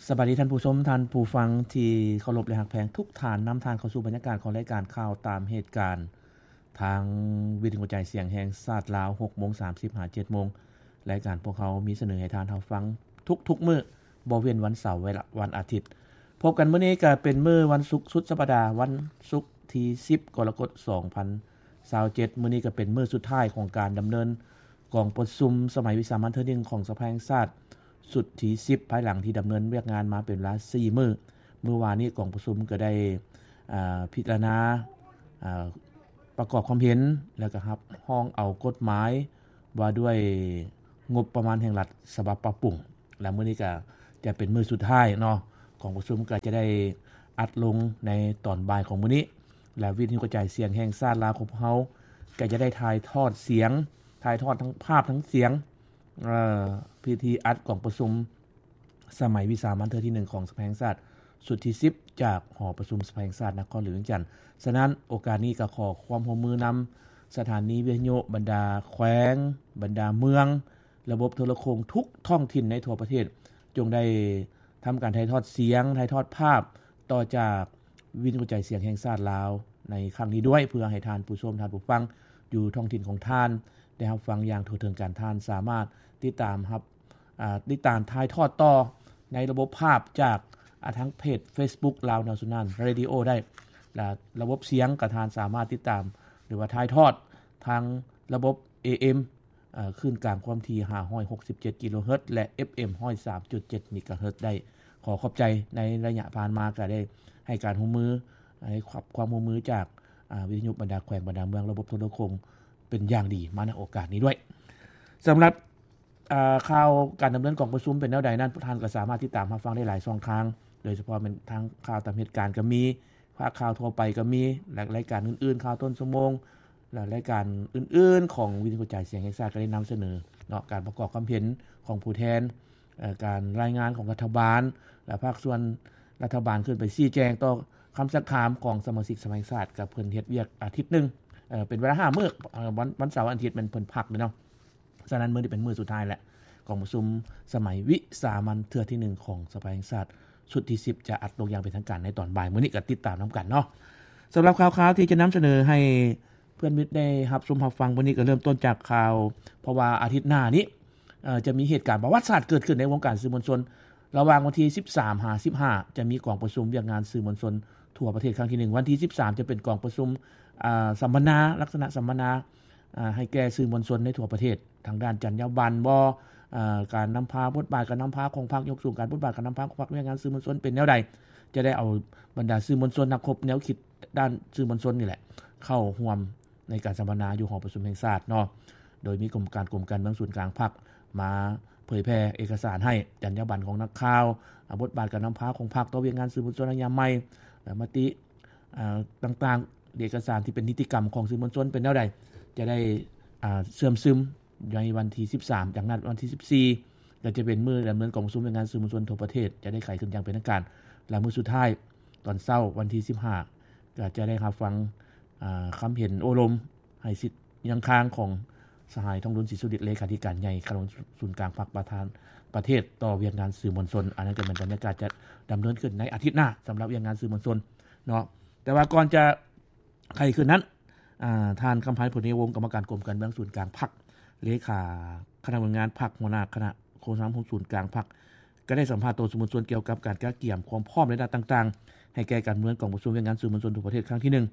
ສະບາຍດີທ່ານຜູ້ຊົມ, ທ່ານຜູ້ຟັງທີ່ເຄົາລົບ ແລະ ຮັກແພງທຸກທ່ານ, ນຳທ່ານເຂົ້າສູ່ບັນຍາກາດຂອງລາຍການຂ່າວຕາມເຫດການ ທາງວິທຍຸກະຈາຍສຽງແຫ່ງຊາດລາວ, ຫົກໂມງສາມສິບ ຫາ ເຈັດໂມງ. ລາຍການພວກເຮົາມີສະເໜີໃຫ້ທ່ານຮັບຟັງທຸກໆມື້, ບໍ່ເວັ້ນວັນເສົາ ແລະ ວັນອາທິດ. ພົບກັນມື້ນີ້ກໍເປັນມື້ວັນສຸກສຸດສັບປະດາ, ວັນສຸກທີສິບ ກໍລະກົດ ສອງພັນຊາວເຈັດ. ມື້ນີ້ກໍເປັນມື້ສຸດທ້າຍຂອງການດຳເນີນກອງປະຊຸມສະໄໝວິສາມັນເທື່ອໜຶ່ງຂອງສະພາແຫ່ງຊາດ ຊຸດທີສິບ ພາຍຫຼັງທີ່ດຳເນີນວຽກງານມາເປັນເວລາສີ່ມື້. ມື້ວານນີ້ກອງປະຊຸມກໍໄດ້ ອາ ພິຈາລະນາ ອາ ປະກອບຄວາມເຫັນ ແລ້ວກໍຮັບຮອງເອົາກົດໝາຍວ່າດ້ວຍງົບປະມານແຫ່ງລັດສະບັບປັບປຸງ ແລະ ມື້ນີ້ກໍຈະເປັນມື້ສຸດທ້າຍເນາະ, ກອງປະຊຸມກໍຈະໄດ້ອັດລົງໃນຕອນບ່າຍຂອງມື້ນີ້ ແລະ ວິທະຍຸກະຈາຍສຽງແຫ່ງຊາດລາວຂອງພວກເຮົາກໍຈະໄດ້ຖ່າຍທອດສຽງ, ຖ່າຍທອດທັງພາບທັງສຽງ ເອີ ພິທີອັດກອງປະຊຸມສະໄໝວິສາມັນເທື່ອທີໜຶ່ງຂອງສະພາແຫ່ງຊາດ ຊຸດທີສິບ ຈາກຫໍປະຊຸມສະພາແຫ່ງຊາດນະຄອນຫຼວງວຽງຈັນ. ສະນັ້ນ ໂອກາດນີ້ກໍຂໍຄວາມຮ່ວມມືນຳສະຖານີວິທະຍຸ, ບັນດາແຂວງ, ບັນດາເມືອງ, ລະບົບໂທລະໂຄ່ງທຸກທ້ອງຖິ່ນໃນທົ່ວປະເທດ ຈົ່ງໄດ້ທຳການຖ່າຍທອດສຽງ, ຖ່າຍທອດພາບຕໍ່ຈາກວິທະຍຸກະຈາຍສຽງແຫ່ງຊາດລາວໃນຄັ້ງນີ້ດ້ວຍ, ເພື່ອໃຫ້ທ່ານຜູ້ຊົມ, ທ່ານຜູ້ຟັງຢູ່ທ້ອງຖິ່ນຂອງທ່ານ ໄດ້ຮັບຟັງຢ່າງທົ່ວເຖິງກັນ. ທ່ານສາມາດຕິດຕາມຮັບ ອາ ຕິດຕາມຖ່າຍທອດຕໍ່ໃນລະບົບພາບຈາກ ອາ ທາງເພຈເຟສບຸກ Lao National Radio ໄດ້ ແລະ ລະບົບສຽງກໍທ່ານສາມາດຕິດຕາມ ຫຼືວ່າຖ່າຍທອດທາງລະບົບ ເອເອັມ ເອີ ຄື້ນກາງຄວາມຖີ່ ຫ້າຮ້ອຍຫົກສິບເຈັດ ກິໂລເຮີດ ແລະ ເອັຟເອັມ ຮ້ອຍສາມຈຸດເຈັດ ເມກາເຮີດ ໄດ້. ຂໍຂອບໃຈໃນໄລຍະຜ່ານມາກໍໄດ້ໃຫ້ການຮ່ວມມື ໃຫ້ຄວາມຮ່ວມມືຈາກ ອາ ວິທະຍຸບັນດາແຂວງ ບັນດາເມືອງ ລະບົບໂທລະໂຄ່ງເປັນຢ່າງດີມາໃນໂອກາດນີ້ດ້ວຍ. ສຳລັບ ອາ ຂ່າວການດຳເນີນກອງປະຊຸມເປັນແນວໃດນັ້ນ ທ່ານກໍສາມາດຕິດຕາມຮັບຟັງໄດ້ຫຼາຍຊ່ອງທາງ, ໂດຍສະເພາະແມ່ນທາງຂ່າວຕາມເຫດການກໍມີ, ພາກຂ່າວທົ່ວໄປກໍມີ ແລະ ລາຍການອື່ນໆ ຂ່າວຕົ້ນຊົ່ວໂມງ ແລະ ລາຍການອື່ນໆຂອງວິທະຍຸກະຈາຍສຽງແຫ່ງຊາດກໍໄດ້ນຳສະເໜີເນາະ ການປະກອບຄວາມເຫັນຂອງຜູ້ແທນ ເອີ ການລາຍງານຂອງລັດຖະບານ ແລະ ພາກສ່ວນລັດຖະບານຂຶ້ນໄປຊີ້ແຈງຕໍ່ຄຳຊັກຖາມຂອງສະມາຊິກສະພາແຫ່ງຊາດ ກໍເພິ່ນເຮັດວຽກອາທິດໜຶ່ງ ເອີ ເປັນເວລາຫ້າມື້ ເອີ ວັນ ວັນເສົາ ວັນອາທິດແມ່ນເພິ່ນພັກເດ້ເນາະ. ສະນັ້ນ ມື້ນີ້ເປັນມື້ສຸດທ້າຍແລ້ວ ກອງປະຊຸມສະໄໝວິສາມັນເທື່ອທີໜຶ່ງຂອງສະພາແຫ່ງຊາດ ຊຸດທີສິບ ຈະອັດລົງຢ່າງເປັນທາງການໃນຕອນບ່າຍມື້ນີ້ ກໍຕິດຕາມນຳກັນເນາະ. ສຳລັບຂ່າວຄາວທີ່ຈະນຳສະເໜີໃຫ້ເພື່ອນມິດໄດ້ຮັບຊົມຮັບຟັງມື້ນີ້ ກໍເລີ່ມຕົ້ນຈາກຂ່າວ ເພາະວ່າອາທິດໜ້ານີ້ ເອີ ຈະມີເຫດການປະຫວັດສາດເກີດຂຶ້ນໃນວົງການສື່ມວນຊົນ ລະຫວ່າງວັນທີສິບສາມ ຫາ ສິບຫ້າ ຈະມີກອງປະຊຸມວຽກງານສື່ມວນຊົນທົ່ວປະເທດຄັ້ງທີໜຶ່ງ, ວັນທີສິບສາມ ຈະເປັນກອງປະຊຸມ ອາ ສຳມະນາ ລັກສະນະສຳມະນາ ອາ ໃຫ້ແກ່ສື່ມວນຊົນໃນທົ່ວປະເທດ ທາງດ້ານຈັນຍາບັນບໍ ອາ ການນຳພາ, ບົດບາດການນຳພາຂອງພັກ, ຍົກສູງການບົດບາດການນຳພາຂອງພັກ, ວຽກງານສື່ມວນຊົນເປັນແນວໃດ, ຈະໄດ້ເອົາບັນດາສື່ມວນຊົນ, ນັກຮົບແນວຄິດດ້ານສື່ມວນຊົນນີ້ແຫຼະ ເຂົ້າຮ່ວມໃນການສຳມະນາຢູ່ຫໍປະຊຸມແຫ່ງຊາດເນາະ, ໂດຍມີກຳມະການກົມການເມືອງສູນກາງພັກມາເຜີຍແຜ່ເອກະສານໃຫ້, ຈັນຍາບັນຂອງນັກຂ່າວ, ອາ ບົດບາດການນຳພາຂອງພັກຕໍ່ວຽກງານສື່ມວນຊົນໃນຍາມໃໝ່ ແລະ ມະຕິ ອາ ຕ່າງໆ ເອກະສານທີ່ເປັນນິຕິກຳຂອງສື່ມວນຊົນເປັນແນວໃດ ຈະໄດ້ ອາ ເຊື່ອມຊຶມໃນວັນທີສິບສາມ ຈາກນັ້ນວັນທີສິບສີ່ ກໍຈະເປັນມື້ດຳເນີນກອງປະຊຸມວຽກງານສື່ມວນຊົນທົ່ວປະເທດ ຈະໄດ້ໄຂຂຶ້ນຢ່າງເປັນທາງການ ແລະ ມື້ສຸດທ້າຍຕອນເຊົ້າວັນທີສິບຫ້າ ກໍຈະໄດ້ຮັບຟັງ ອາ ຄຳເຫັນໂອ້ລົມໃຫ້ສິດຍັງຄ້າງຂອງສະຫາຍ ທອງລຸນ ສີສຸລິດ ເລຂາທິການໃຫຍ່ຄະນະສູນກາງພັກ ປະທານປະເທດຕໍ່ວຽກງານສື່ມວນຊົນ. ອັນນັ້ນກໍແມ່ນບັນຍາກາດຈະດຳເນີນຂຶ້ນໃນອາທິດໜ້າສຳລັບວຽກງານສື່ມວນຊົນເນາະ. ແຕ່ວ່າກ່ອນຈະໄຂຂຶ້ນນັ້ນ ອາ ທ່ານ ຄຳພັນ ພົນຍະວົງ ກຳມະການກົມການເມືອງສູນກາງພັກ ເລຂາຄະນະເມືອງງານພັກ ຫົວໜ້າຄະນະໂຄສະນາຄົມສູນກາງພັກ ກໍໄດ້ສຳພາດຕໍ່ສື່ມວນຊົນກ່ຽວກັບການກະກຽມຄວາມພ້ອມໃນດ້ານຕ່າງໆ ໃຫ້ແກ່ການດຳເນີນກອງປະຊຸມວຽກງານສື່ມວນຊົນທົ່ວປະເທດຄັ້ງທີໜຶ່ງ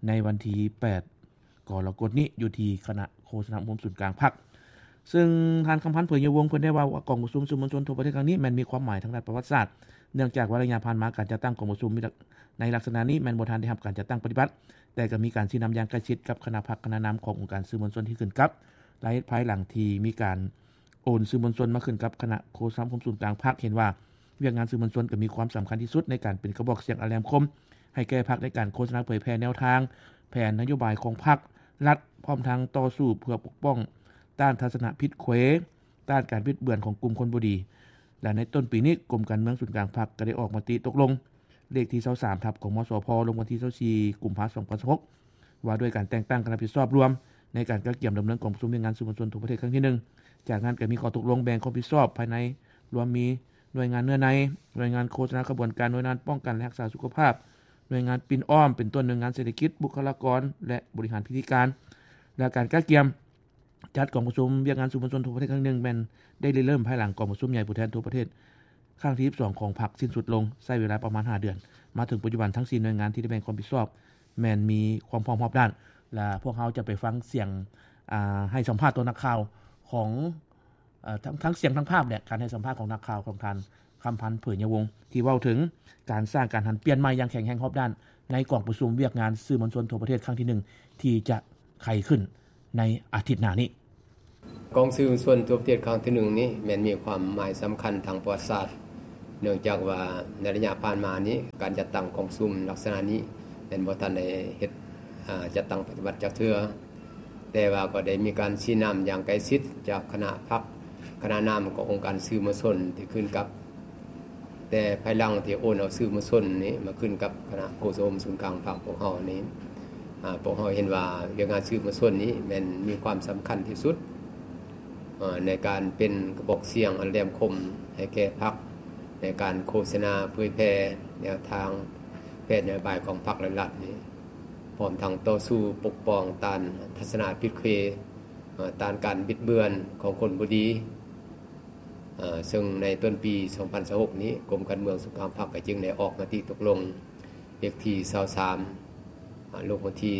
ໃນວັນທີແປດ ກໍລະກົດນີ້ ຢູ່ທີ່ຄະນະໂຄສະນາຄົມສູນກາງພັກ. ເຊິ່ງທ່ານ ຄຳພັນ ເຜີຍຍະວົງ ເພິ່ນໄດ້ເວົ້າວ່າ ກອງປະຊຸມສື່ມວນຊົນທົ່ວປະເທດຄັ້ງນີ້ແມ່ນມີຄວາມໝາຍທາງດ້ານປະຫວັດສາດ ເນື່ອງຈາກວ່າໄລຍະຜ່ານມາການຈັດຕັ້ງກອງປະຊຸມໃນລັກສະນະນີ້ແມ່ນບໍ່ທັນໄດ້ຮັບການຈັດຕັ້ງປະຕິບັດ, ແຕ່ກໍມີການຊີ້ນຳຢ່າງໃກ້ຊິດກັບຄະນະພັກຄະນະນຳຂອງອົງການສື່ມວນຊົນທີ່ຂຶ້ນກັບ ແລະ ພາຍຫຼັງທີ່ມີການໂອນສື່ມວນຊົນມາຂຶ້ນກັບຄະນະໂຄສະນາຄົມສູນກາງພັກ ເຫັນວ່າວຽກງານສື່ມວນຊົນກໍມີຄວາມສຳຄັນທີ່ສຸດໃນການເປັນກະບອກສຽງອັນແຫຼມຄົມ ໃຫ້ແກ່ພັກໃນການໂຄສະນາເຜີຍແຜ່ແນວທາງ, ແຜນນະໂຍບາຍຂອງພັກ, ລັດ, ພ້ອມທັງຕໍ່ສູ້ເພື່ອປົກປ້ອງຕ້ານທັດສະນະຜິດເຂວ, ຕ້ານການບິດເບືອນຂອງກຸ່ມຄົນບໍ່ດີ ແລະ ໃນຕົ້ນປີນີ້ ກົມການເມືອງສູນກາງພັກກໍໄດ້ອອກມະຕິຕົກລົງເລກທີຊາວສາມ ທັບ ກມສພ ລົງວັນທີຊາວສີ່ ກຸມພາ ສອງພັນຊາວຫົກ ວ່າດ້ວຍການແຕ່ງຕັ້ງຄະນະຮັບຜິດຊອບລວມໃນການກະກຽມດຳເນີນກອງປະຊຸມວຽກງານສື່ມວນຊົນທົ່ວປະເທດຄັ້ງທີໜຶ່ງ. ຈາກນັ້ນກໍມີຂໍ້ຕົກລົງແບ່ງຄວາມຜິດຊອບພາຍໃນ ລວມມີ ໜ່ວຍງານເນື້ອໃນ, ໜ່ວຍງານໂຄສະນາຂະບວນການ, ໜ່ວຍງານປ້ອງກັນ ແລະ ຮັກສາສຸຂະພາບ, ໜ່ວຍງານປິ່ນອ້ອມ ເປັນຕົ້ນໜ່ວຍງານເສດຖະກິດ, ບຸກຄະລາກອນ ແລະ ບໍລິຫານພິທີການ ແລະ ການກະກຽມ ຈັດກອງປະຊຸມວຽກງານສື່ມວນຊົນທົ່ວປະເທດຄັ້ງທີໜຶ່ງ ແມ່ນໄດ້ລິເລີ່ມພາຍຫຼັງກອງປະຊຸມໃຫຍ່ຜູ້ແທນທົ່ວປະເທດຄັ້ງທີສິບສອງຂອງພັກສິ້ນສຸດລົງ, ໃຊ້ເວລາປະມານຫ້າເດືອນ. ມາເຖິງປັດຈຸບັນ ທັງສີ່ໜ່ວຍງານທີ່ໄດ້ແບ່ງຄວາມຜິດຊອບ ແມ່ນມີຄວາມພ້ອມຮອບດ້ານ ແລະ ພວກເຮົາຈະໄປຟັງສຽງ ອາ ໃຫ້ສຳພາດຕໍ່ນັກຂ່າວຂອງ ເອີ ທັງ ທັງສຽງທັງພາບແຫຼະ ການໃຫ້ສຳພາດຂອງນັກຂ່າວຂອງທ່ານ ຄຳພັນ ເຜີຍຍະວົງ ທີ່ເວົ້າເຖິງການສ້າງການຫັນປ່ຽນໃໝ່ຢ່າງແຂງແຮງຮອບດ້ານ ໃນກອງປະຊຸມວຽກງານສື່ມວນຊົນທົ່ວປະເທດຄັ້ງທີໜຶ່ງ ທີ່ຈະໄຂຂຶ້ນໃນອາທິດໜ້ານີ້. ກອງສື່ມວນຊົນທົ່ວປະເທດຄັ້ງທີໜຶ່ງນີ້ ແມ່ນມີຄວາມໝາຍສຳຄັນທາງປະຫວັດສາດ ເນື່ອງຈາກວ່າໃນໄລຍະຜ່ານມານີ້ ການຈັດຕັ້ງກອງປະຊຸມລັກສະນະນີ້ ແມ່ນບໍ່ທັນໄດ້ເຮັດ ອາ ຈັດຕັ້ງປະຕິບັດຈັກເທື່ອ. ແຕ່ວ່າກໍໄດ້ມີການຊີ້ນຳຢ່າງໃກ້ຊິດຈາກຄະນະພັກ, ຄະນະນຳຂອງອົງການສື່ມວນຊົນທີ່ຂຶ້ນກັບ ແຕ່ພາຍຫຼັງທີ່ໂອນເອົາສື່ມວນຊົນນີ້ມາຂຶ້ນກັບຄະນະໂຄສະກົມສູນກາງພັກພວກເຮົານີ້ ອາ ພວກເຮົາເຫັນວ່າວຽກງານສື່ມວນຊົນນີ້ແມ່ນມີຄວາມສຳຄັນທີ່ສຸດ ເອີ ໃນການເປັນກະບອກສຽງອັນແຫຼມຄົມໃຫ້ແກ່ພັກ ໃນການໂຄສະນາເຜີຍແຜ່ແນວທາງແຜນນະໂຍບາຍຂອງພັກ ແລະ ລັດນີ້. ພ້ອມທັງຕໍ່ສູ້ປົກປ້ອງຕ້ານທັດສະນະຜິດເຄ ເອີ ຕ້ານການບິດເບືອນຂອງຄົນບໍ່ດີ ເອີ ເຊິ່ງໃນຕົ້ນປີສອງພັນຊາວຫົກນີ້ ກົມການເມືອງສູນກາງພັກກໍຈຶ່ງໄດ້ອອກມະຕິຕົກລົງເລກທີຊາວສາມ ອາ ລົງວັນທີ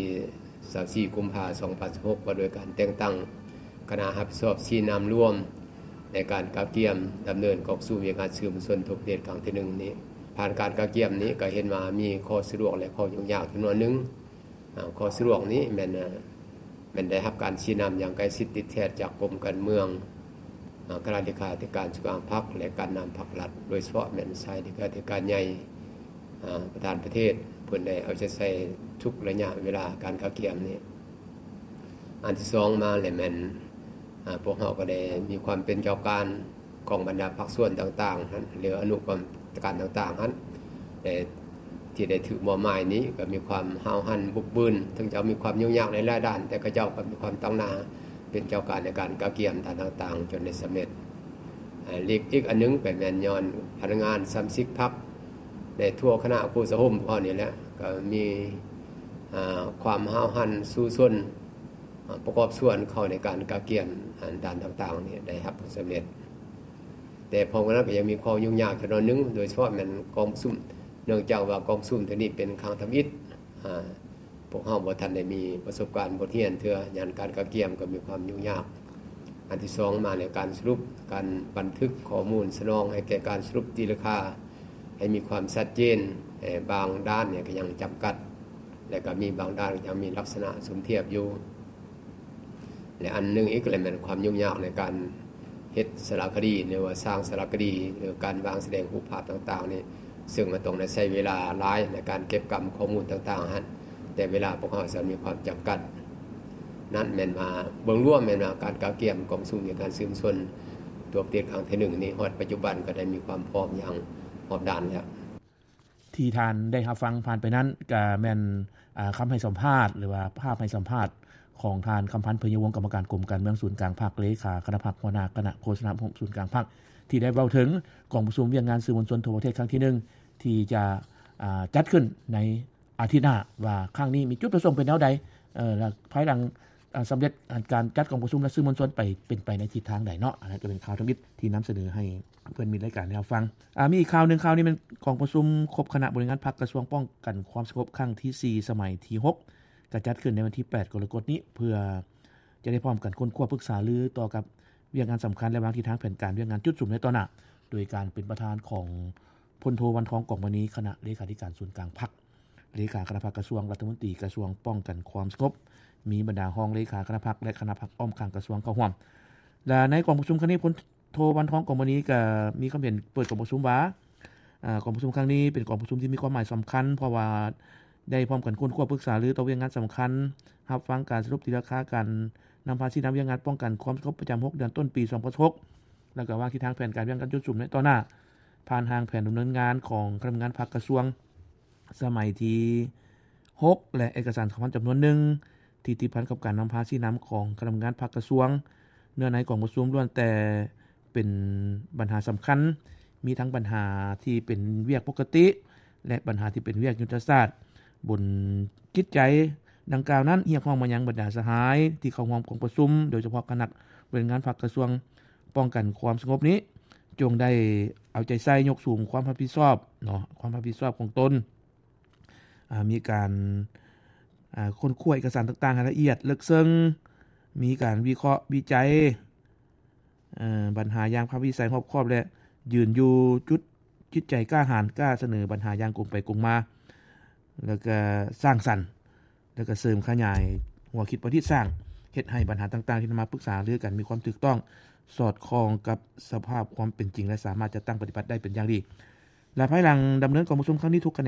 ຊາວສີ່ ກຸມພາ ສອງພັນຊາວຫົກ ວ່າດ້ວຍການແຕ່ງຕັ້ງຄະນະຮັບຜິດຊອບຊີ້ນຳລວມ ໃນການກະກຽມດຳເນີນກອງປະຊຸມວຽກງານສື່ມວນຊົນທົ່ວປະເທດຄັ້ງທີໜຶ່ງນີ້. ຜ່ານການກະກຽມນີ້ກໍເຫັນວ່າມີຂໍ້ສະດວກ ແລະ ຂໍ້ຫຍຸ້ງຍາກຈຳນວນໜຶ່ງ. ອາ ຂໍ້ສະດວກນີ້ແມ່ນ ແມ່ນໄດ້ຮັບການຊີ້ນຳຢ່າງໃກ້ຊິດຕິດແທດຈາກກົມການເມືອງ, ອາ ຄະນະເລຂາທິການສູນກາງພັກ ແລະ ການນຳພັກລັດ, ໂດຍສະເພາະແມ່ນຊາຍເລຂາທິການໃຫຍ່ ອາ ປະທານປະເທດ ເພິ່ນໄດ້ເອົາໃຈໃສ່ທຸກໄລຍະເວລາການກະກຽມນີ້. ອັນທີສອງມາແລ້ວແມ່ນ ອາ ພວກເຮົາກໍໄດ້ມີຄວາມເປັນເຈົ້າການຂອງບັນດາພາກສ່ວນຕ່າງໆຫັ້ນ ຫຼື ອະນຸກຳມະການຕ່າງໆຫັ້ນ ແຕ່ທີ່ໄດ້ຖືກມອບໝາຍນີ້ກໍມີຄວາມຫ້າວຫັນບຸກບືນ, ເຖິງຈະມີຄວາມຫຍຸ້ງຍາກໃນຫຼາຍດ້ານ ແຕ່ເຂົາເຈົ້າກໍມີຄວາມຕັ້ງໜ້າເປັນເຈົ້າການໃນການກະກຽມດ້ານຕ່າງໆ ຈົນໄດ້ສຳເລັດ. ອາ ອີກ ອີກອັນໜຶ່ງກໍແມ່ນຍ້ອນພະນັກງານສະມາຊິກພັກໃນທົ່ວຄະນະໂຄສະກົມຂອງເຮົານີ້ແຫຼະ ກໍມີ ອາ ຄວາມຫ້າວຫັນສູ້ຊົນ ອາ ປະກອບສ່ວນເຂົ້າໃນການກະກຽມ ອາ ດ້ານຕ່າງໆນີ້ໄດ້ຮັບຜົນສຳເລັດ. ແຕ່ພ້ອມກັນນັ້ນກໍຍັງມີຂໍ້ຫຍຸ້ງຍາກຈຳນວນໜຶ່ງ ໂດຍສະເພາະແມ່ນກອງປະຊຸມ ເນື່ອງຈາກວ່າກອງປະຊຸມເທື່ອນີ້ເປັນຄັ້ງທຳອິດ ອາ ພວກເຮົາບໍ່ທັນໄດ້ມີປະສົບການບົດຮຽນເທື່ອ, ຍ້ອນການກະກຽມກໍມີຄວາມຫຍຸ້ງຍາກ. ອັນທີສອງມາແລ້ວ ການສະຫຼຸບ, ການບັນທຶກຂໍ້ມູນສະໜອງໃຫ້ແກ່ການສະຫຼຸບຕີລາຄາ ໃຫ້ມີຄວາມຊັດເຈນ, ແຕ່ບາງດ້ານນີ້ກໍຍັງຈຳກັດ ແລະ ກໍມີບາງດ້ານກໍຍັງມີລັກສະນະສົມທຽບຢູ່. ແລະ ອັນໜຶ່ງອີກກໍແມ່ນຄວາມຫຍຸ້ງຍາກໃນການເຮັດສາລະຄະດີ ຫຼືວ່າສ້າງສາລະຄະດີ ຫຼືການວາງສະແດງຮູບພາບຕ່າງໆນີ້ ເຊິ່ງມັນຕ້ອງໄດ້ໃຊ້ເວລາຫຼາຍໃນການເກັບກຳຂໍ້ມູນຕ່າງໆຫັ້ນ, ແຕ່ເວລາພວກເຮົາຈະມີຄວາມຈຳກັດ. ນັ້ນແມ່ນວ່າ ເບື້ອງລວມແມ່ນວ່າ ການກະກຽມກອງປະຊຸມວຽກງານສື່ມວນຊົນທົ່ວປະເທດຄັ້ງທີໜຶ່ງນີ້ ຮອດປັດຈຸບັນກໍໄດ້ມີຄວາມພ້ອມຢ່າງຮອບດ້ານແລ້ວ. ທີ່ທ່ານໄດ້ຮັບຟັງຜ່ານໄປນັ້ນ ກະແມ່ນ ອາ ຄຳໃຫ້ສຳພາດ ຫຼືວ່າພາບໃຫ້ສຳພາດຂອງທ່ານ ຄຳພັນ ເຜີຍຍະວົງ ກຳມະການກົມການເມືອງສູນກາງພັກ, ເລຂາຄະນະພັກ, ຫົວໜ້າຄະນະໂຄສະນາອົບຮົມສູນກາງພັກ ທີ່ໄດ້ເວົ້າເຖິງກອງປະຊຸມວຽກງານສື່ມວນຊົນທົ່ວປະເທດຄັ້ງທີໜຶ່ງ ທີ່ຈະ ອາ ຈັດຂຶ້ນໃນອາທິດໜ້າ ວ່າຄັ້ງນີ້ມີຈຸດປະສົງເປັນແນວໃດ ເອີ ແລະ ພາຍຫຼັງ ອາ ສຳເລັດ ອາ ການຈັດກອງປະຊຸມ ແລະ ສື່ມວນຊົນໄປ ເປັນໄປໃນທິດທາງໃດເນາະ. ອັນນັ້ນກໍເປັນຂ່າວທຳອິດທີ່ນຳສະເໜີໃຫ້ເພື່ອນມິດລາຍການໄດ້ຮັບຟັງ. ອາ ມີອີກຂ່າວໜຶ່ງ, ຂ່າວນີ້ແມ່ນກອງປະຊຸມຄົບຄະນະບໍລິຫານງານພັກກະຊວງປ້ອງກັນຄວາມສະຫງົບຄັ້ງທີສີ່ ສະໄໝທີຫົກ ກະຈັດຂຶ້ນໃນວັນທີແປດ ກໍລະກົດນີ້ ເພື່ອຈະໄດ້ພ້ອມກັນຄົ້ນຄວ້າປຶກສາລືຕໍ່ກັບວຽກງານສຳຄັນ ແລະ ວາງທິດທາງແຜນການວຽກງານຈຸດສຸມໃນຕໍ່ໜ້າ ໂດຍການເປັນປະທານຂອງ ພົນໂທ ວັນທອງ ກອງມະນີ ຄະນະເລຂາທິການສູນກາງພັກ, ເລຂາຄະນະພັກກະຊວງ, ລັດຖະມົນຕີກະຊວງປ້ອງກັນຄວາມສະຫງົບ, ມີບັນດາຮອງເລຂາຄະນະພັກ ແລະ ຄະນະພັກອ້ອມຂ້າງກະຊວງເຂົ້າຮ່ວມ. ແລະ ໃນກອງປະຊຸມຄັ້ງນີ້ ພົນໂທ ວັນທອງ ກອງມະນີ ກໍມີຄຳເຫັນເປີດກອງປະຊຸມວ່າ ອາ ກອງປະຊຸມຄັ້ງນີ້ເປັນກອງປະຊຸມທີ່ມີຄວາມໝາຍສຳຄັນ ເພາະວ່າໄດ້ພ້ອມກັນຄົ້ນຄວ້າປຶກສາລືຕໍ່ວຽກງານສຳຄັນ, ຮັບຟັງການສະຫຼຸບຕີລາຄາການນຳພາຊີ້ນຳວຽກງານປ້ອງກັນຄວາມສະຫງົບປະຈຳຫົກເດືອນຕົ້ນປີສອງພັນຊາວຫົກ ແລ້ວກໍວາງທິດທາງແຜນການວຽກງານຈຸດສຸມໃນຕໍ່ໜ້າ ຜ່ານຮ່າງແຜນດຳເນີນງານຂອງຄະນະພະນັກງານພັກກະຊວງ ສະໄໝທີຫົກ ແລະ ເອກະສານສຳຄັນຈຳນວນໜຶ່ງ ທີ່ຕິດພັນກັບການນຳພາຊີ້ນຳຂອງຄະນະພະນັກງານພັກກະຊວງ. ເນື້ອໃນກອງປະຊຸມລ້ວນແຕ່ເປັນບັນຫາສຳຄັນ ມີທັງບັນຫາທີ່ເປັນວຽກປົກກະຕິ ແລະ ບັນຫາທີ່ເປັນວຽກຍຸດທະສາດ. ບົນຈິດໃຈດັ່ງກ່າວນັ້ນ ຮຽກຮ້ອງມາຍັງບັນດາສະຫາຍທີ່ເຂົ້າຮ່ວມກອງປະຊຸມ ໂດຍສະເພາະຄະນະບໍລິຫານງານພັກກະຊວງປ້ອງກັນຄວາມສະຫງົບນີ້ ຈົ່ງໄດ້ເອົາໃຈໃສ່ຍົກສູງຄວາມຮັບຜິດຊອບເນາະ ຄວາມຮັບຜິດຊອບຂອງຕົນ ອາ ມີການ ອາ ຄົ້ນຄວ້າເອກະສານຕ່າງໆໃຫ້ລະອຽດເລິກເຊິ່ງ, ມີການວິເຄາະວິໄຈ ເອີ ບັນຫາຢ່າງພາກວິໄສຮອບຄອບ ແລະ ຢືນຢູ່ຈຸດຈິດໃຈກ້າຫານ ກ້າສະເໜີບັນຫາຢ່າງກົງໄປກົງມາ ແລ້ວກະສ້າງສັນ ແລ້ວກະເສີມຂະຫຍາຍຫົວຄິດປະດິດສ້າງ ເຮັດໃຫ້ບັນຫາຕ່າງໆທີ່ນຳມາປຶກສາຫາລືກັນມີຄວາມຖືກຕ້ອງ ສອດຄ່ອງກັບສະພາບຄວາມເປັນຈິງ ແລະ ສາມາດຈັດຕັ້ງປະຕິບັດໄດ້ເປັນຢ່າງດີ. ແລະ ພາຍຫຼັງດຳເນີນກອງປະຊຸມຄັ້ງນີ້ ທຸກຂະແໜງ